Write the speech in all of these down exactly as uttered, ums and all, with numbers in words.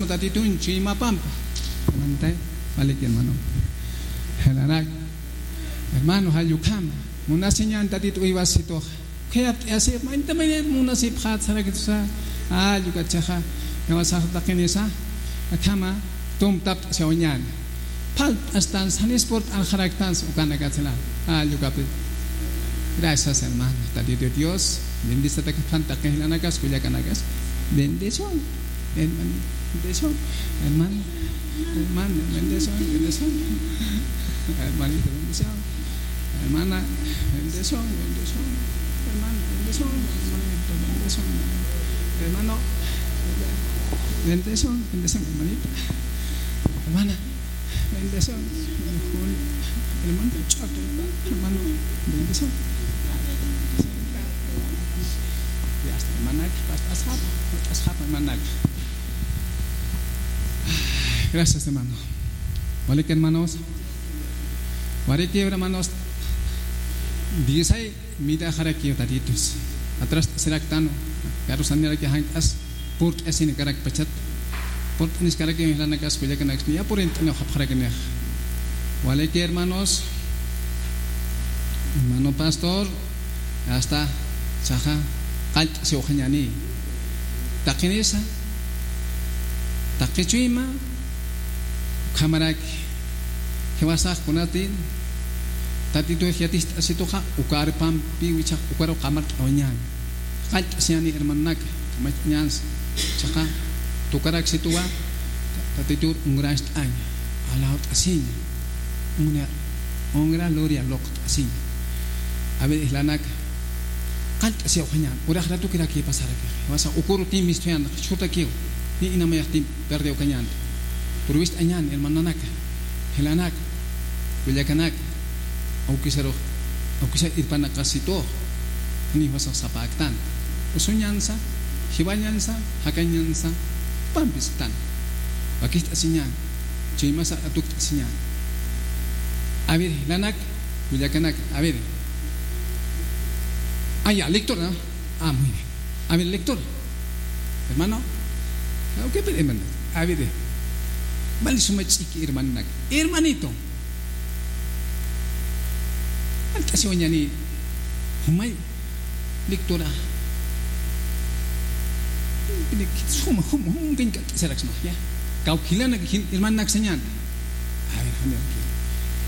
Tatitun chuymapampa. Amantay, walik hermano. Jalanak. Hermano, jall ukhama. Munasiñan Tatitu uywasituxa. Khayapt'ayasip, mayta mayta munasipxat sarakitusa. Jall ukachaxa. Jiwasax taqinisa. Akhama, tumtapt'asiwañan. Phalt'astan, sanis purt'anxaraktansa ukanakatsa. Jall ukapit. Gracias, hermano. Tatitu Dios. Bendisata kapan taqi jilanakas, kullakanakas. Bendición. Hermano, bendición. Hermano, hermano, bendición, bendición. Hermanito, bendición. Hermana, bendición, bendición. Hermano, bendición, hermanito, bendición. Hermano, bendición, bendición, hermanita. Hermana, bendición. Hermano, hermano, bendición. Ya está, hermana, hasta, hasta, hasta, hermana. Gracias, hermano. Walik, hermanos. Walik, hermanos. Diez ay, mira, jarakiw Tatitus. Atrás, siraktan. Karusaniraki, jank'as. Purt'asin karakpachat. Purt'anis karakiw, jilanakas, kullakanakas. Ya purint'aniw japjarakinixa. Walik, hermanos. Hermano pastor. Hasta, saxa, qallt'asiwxañäni. Taqinisa, taqi chuyma, ukhamaraki, jiwasax kunati, Tatitux yaticht'asituxa, uka arpampiw jichhax, ukaru qamart'awañäni. Qallt'asiñäni hermanonaka, kamach'añänsa, jichhaxa, tukaraksituwa, Tatitur ungracht'aña, alawt'asiña, ungra, ungra gloria loqt'asiña. A ver, jilanakas, qallt'asiwxañän, urax ratukiraki pasaraki. Jiwasa ukuru tim mistuyan, churtakiw, ni inamayaxtim perdiwkañänti. Purwist'añän, hermananaka, jilanaka, kullakanaka, awkisarux, awkisa irpanakasitux, ni jiwasax sapäktan. Usuñänsa, jiwañänsa, jakañänsa, pampistan. Wakicht'asiñän, chuymasa atukt'asiñän. A ver, jilanak, kullakanaka, a ver. Ah, ya, lectura, ¿no? Ah, muy bien. A ver, lectura. Hermano. Ah, ok, pero hermano. A ver. Vale, suma ch'iki, hermano. Hermanito. Qallt'asiwañäni. Jumay. Lectura. Suma, juma, juma, qallt'asiraksma, ya. Kawkhilanak, jin-, hermananak sañän. A ver, jumay.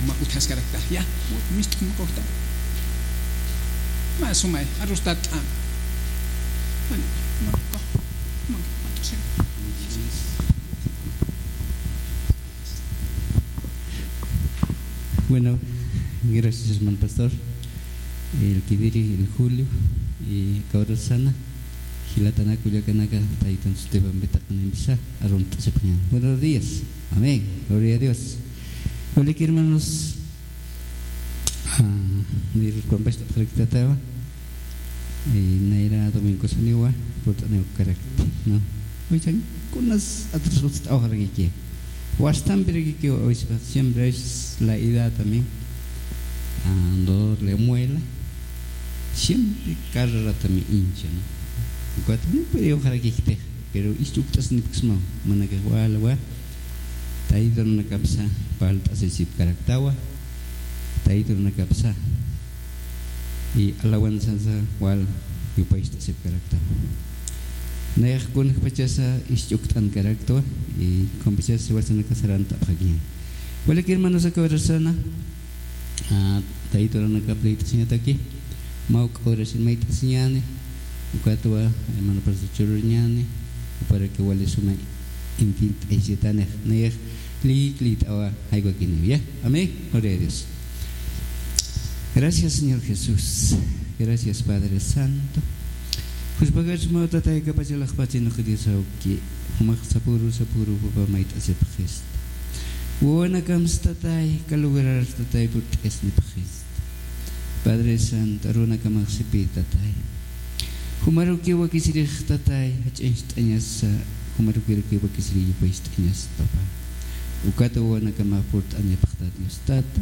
Juma utjaskarakta, ya. Mist'un kawkta. Mä sumay, arrustat'a. Bueno, no, no, no, no, no, no. Bueno, gracias, hermano pastor. El que dirige el Julio y Cabrosana, jilatanaka, kullakanaka, taytan sutipan bitaqnimsa, arrunt'asipxañän. Buenos días. Amén. Gloria a Dios. Hola, hermanos. Ah, nir pampast'apxaraktawa. Eh, nayra domingo saniwa, purt'aniw karakta, ¿no? Oigan, kunas atrasut'awxarakiki. Wastampirakiki, oispa, siempre es la edad también. Ah, dolor de muela. Siempre carrera también hincha, ¿no? Cuatro mil periwxarakikti, pero istukt'asnipksma, manaka wal wa. Tayta runakapsa, phalt'asisipkaraktawa. Tayta runakapsa. Y alabanzansa wal yupaycht'asipkaraktawa. Nayax kunjpachasa isch'ukt'ankaraktwa, y kunjpachasa jiwasanaka sarantapxakiñäni. Walik hermanos, aka urasana, ah, tayta runakap liyt'asiñataki, mawk'a urasin mayt'asiñäni, ukatwa, hermano pastor chururiñäni, juparaki wali suma intint'aysitanix, nayax liyik liyt'awa jaywakiniw, ya. Amén. Gloria a Dios. Gracias, Señor Jesús. Gracias, Padre Santo. Juspagarsmaw tatay kapachalaxpachinux Dios awki. Jumax sapüru, sapüru, papa, mayt'asipxista. Wawanakams tatay, kalugarar tatay, purt'asnipxista. Padre Santo, arunakamax sipï tatay. Jumarukiw wakisirix tatay, jach'añcht'añasa, jumarukirakiw wakisirix yupaycht'añasa, papa. Ukata wawanakamax purt'anipxta Dios tata.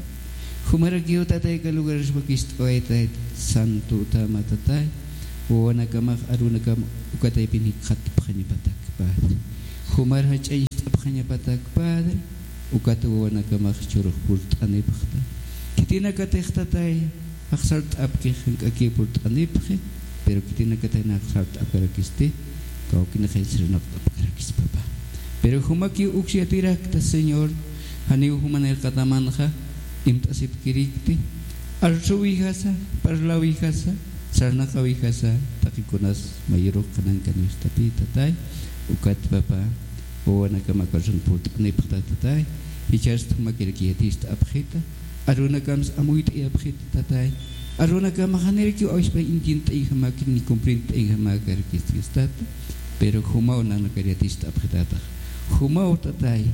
Jumarakiw tatay kalugarar wakicht'awaytay santo utjama tatay. Wawanakamax arunakam ukataypin jikxatapxañapatak, Padre. Jumar jach'añ Apxañapatak Padre, ukat wawanakamax churux purt'anipxta. Khitinakatix Tatay, jaxsart'apkix jank'akiw purt'anipxi, pero khitinakatix nax jaxsart'apkarakisti, kawkinixay sarnaqt'apkarakis, papá. Pero jumakiw uks yatirakta, Señor, janiw jumanïr qatamanxa imt'asipkirikti, arsuwijasa, parläwijasa, sarnaqawijasa, taqikunas mayurux qanankaniwstapï, Tatay, ukat, papá, wawanakam aka arsun purt'anipxta, Tatay, jichhast jumakiraki yatist'apxita, arunakams amuyt'ayapxita, Tatay, arunakam janirakiw awispay intint'ayjamäkir ni cumplint'ayjamäkarakisti, Tata, pero jumaw nanakar yatist'apxitatax, jumaw, Tatay,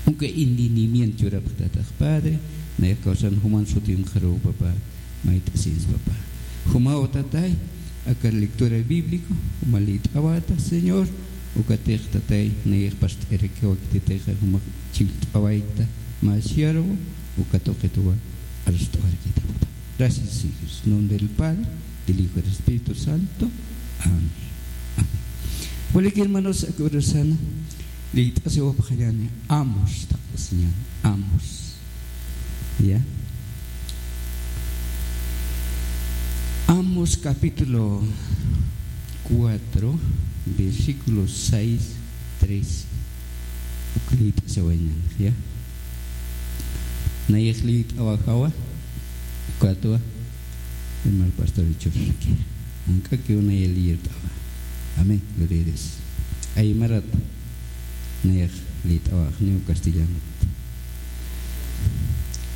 uka entendimiento churapxitatax, Padre, nayax kawsan juman sutimxaruw, papá, mayt'asins, papá. Jumaw, Tatay, aka lectura bíblico, juma liyt'awata, Señor, ukatix, Tatay, nayax past'irakiwa, khititixa juma chillt'awaykta, mä siervo, uka tuqitwa arst'awarakïta, papá. Gracias, Señor. En nombre del Padre, del Hijo y del Espíritu Santo. Amén. Amén. Walik hermanos, aka urasana liyt'asiwapxañäni, Amos, taqt'asiñäni, Amos. Ya. Amos capítulo cuatro, versículo seis, trece. Uk liyt'asiwayañäni, ya. Nayax liyt'awajawa, ukatwa, hermano pastor Richard. Jank'akiw nayax liyt'awa. Amén, gloria a Dios. Aymarat nayax liyt'awaxniw, castellanot.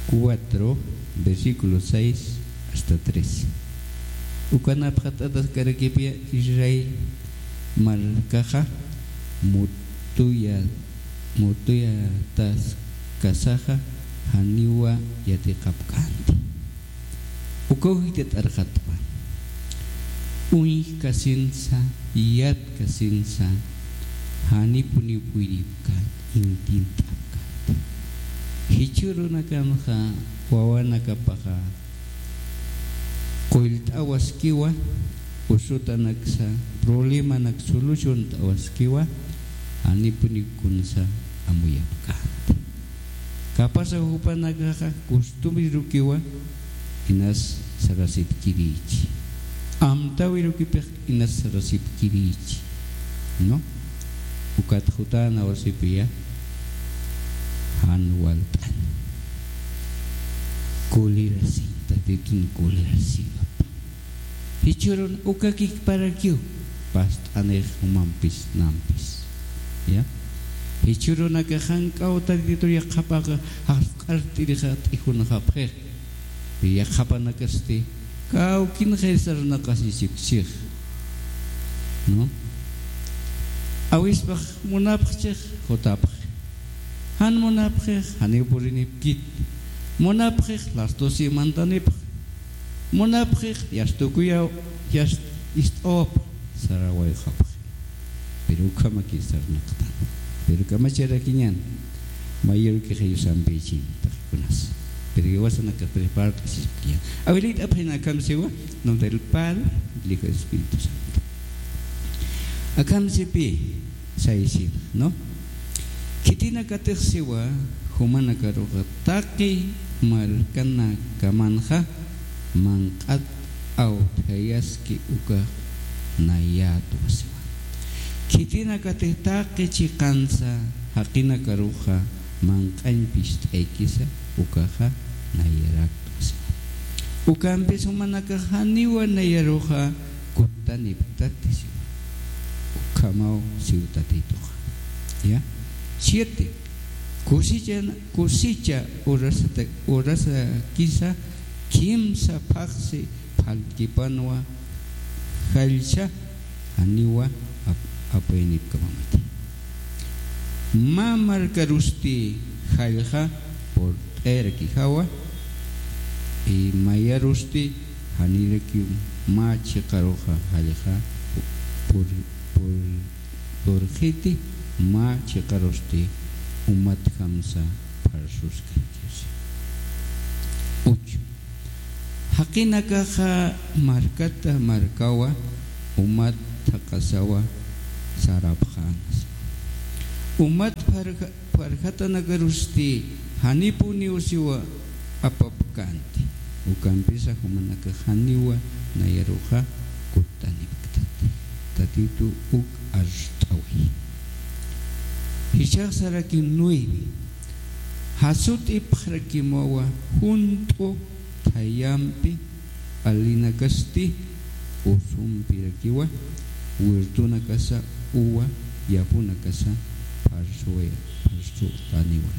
Cuatro, versículo seis hasta trece. Ukanapxataskarakipï Israel markaxa mutuya, mutuyataskasaxa janiwa yatiqapkänti. Ukaw jichhatarxatwa. Uñjkasinsa, yatkasinsa, janipuniw puyripkän, intint'apkänti. Jichhürunakamxa wawanakapaxa qullt'awaskiwa, usutanaksa, problemanak soluciont'awaskiwa, janipuniw kunsa amuyapkänti. Capaz jupanakaxa costumbrerukiwa inas sarasipkirïchi. Amtäwirukipix inas sarasipkirïchi. ¿No? Ukat jutänawasipiya jan walt'an. Kulirasiñ, Tatitun kulirasiwapa. Jichhürun ukakikparakiw past'anix jumampis nampis. Ya. Jichhürunakax jank'aw Tatitur yaqhapaxa jaqsq'art'irixa t'ijunxapxix. Yaqhapanakasti kawkinxay sarnaqasisipkchix. ¿No? Awispax munapxchix jutapxi. Jan munapxix janiw purinipkit. Munapxix las doce mantanipxi. Munapxix yastukuyaw, yast-, ist'awap sarawayxapxi. Pero ukhamaki sarnaqtan. Pero kamacharakiñän. Mayürkix yusampïchin taqikunas. Pero jiwasanakax prepart'asispakiñän. Awilita apxina akham siwa, nombre del Padre, del Hijo y del Espíritu Santo. Akham sipï, saysina, ¿no? Khitinakatix siwa, jumanakaruxa taqi markanakamanxa manq'at awthayaski ukax nayätwa siwa. Khitinakatix taqi chiqansa jaqinakaruxa manq'añ pist'aykisa ukaxa nayaraktwa siwa. Ukampis jumanakax janiwa nayaruxa kutanipktati siwa. Ukhamaw siw Tatituxa. Ya. Siete. Cosecha, cosecha urasata-, urasakisa kimsa phaxsi phaltkipanwa jallsa janiwa ap-, apaynipkamamati. Mä markarusti jallxa purt'ayarakijawa, y mayarusti janirakiw mä chiqaruxa jallxa pur-, pur-, purxiti, mä chiqarusti umatjamsa pharsuskarakiw. Ocho. Jaqinakaxa markata markawa umat thaqhasawa sarapxäna. Umat pharja-, pharjatanakarusti janipuniw siwa apapkänti. Ukampisa jumanakax janiwa nayaruxa kuttanipktati. Tatitu uk arst'awi. Jichhax saraki nueve. Jasut'ipxarakimawa junt'u thayampi, p'alinakasti usumpirakiwa, huertonakasa uva yapunakasa pharsuwa-, pharsutäniwa.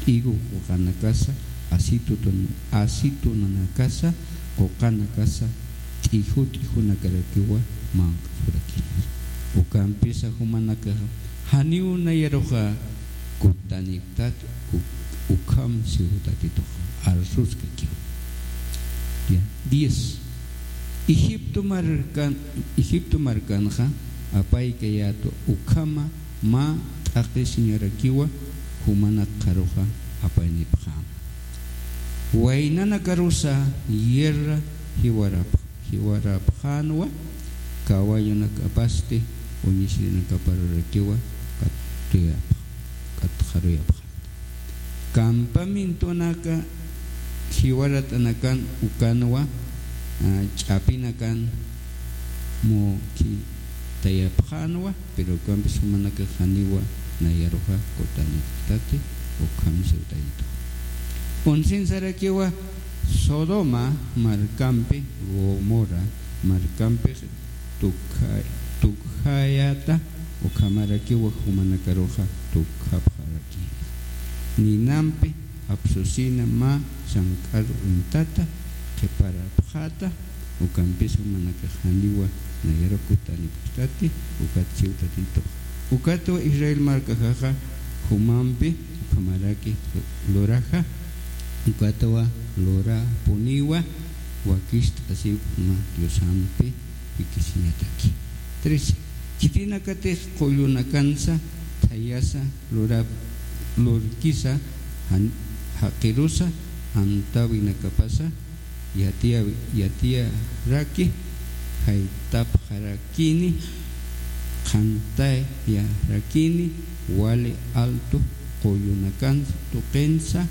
Higo quqanakasa, acitutun-, acetunanakasa, quqanakasa, t'iyu t'ikunakarakiwa manq'apurakini. Ukampisa jumanakaxa janiw nayaruxa kuttanipktati, uk-, ukham siw Tatitux arsuskakiw. Ya, diez. Egipto markan, Egipto markanxa apaykayätwa, ukhama mä t'aqhisiñarakiwa jumanakaruxa apaynipxäma. Waynanakarusa guerra jiwarap-, jiwarapxänwa, kawallunakapasti uñisirinakaparurakiwa katuyapx-, katxaruyapxänwa. Campamentonaka jiwarat'anakan ukanwa, ah, ch'apinakan mukhitayapxänwa, pero ukampis jumanakax janiwa nayaruxa kuttanipktati, ukham siw Taytitux. Oncean sarakiwa Sodoma markampi, Gomorra markampix tukha-, tukjayäta, ukhamarakiwa jumanakaruxa tukjapxaraki. Ninampi apsusina mä sank'ar uñtata qhiparapxäta, ukampisa jumanakax janiwa nayaruxa kuttanipktati, ukat siw Tatitux. Ukatwa Israel markaxaxa jumampi ukhamaraki luraxa, ukatwa lurapuniwa, wakicht'asiw mä Diosampi jikisiñataki. Trece. Khitinakatix qullunakansa thayasa lurap-, lurkisa jan-, jaqirusa amtäwinakapasa yatiya-, yatiyaraki, jaytapxarakini, qhantayarakini, wali alto qullunakansa tuqinsa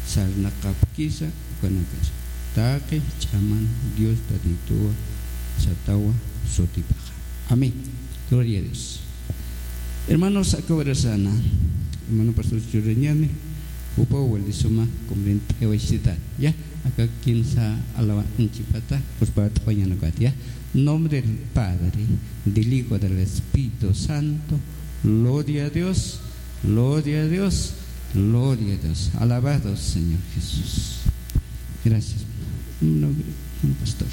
sarnaqapkisa ukanakasa. Taqi ch'aman Dios Tatituwa satawa sutipaxa. Amén. Gloria a Dios. Hermanos, aka urasana, hermano pastor Churañani, jupaw wali suma comprendt'awachita, ya, aka kimsa alawanchipata, pues, para t'awañanakata, ya. Nombre del Padre, del Hijo, del Espíritu Santo. Gloria a Dios, gloria a Dios, gloria a Dios. Alabado Señor Jesús. Gracias, hermano. No, no, pastor.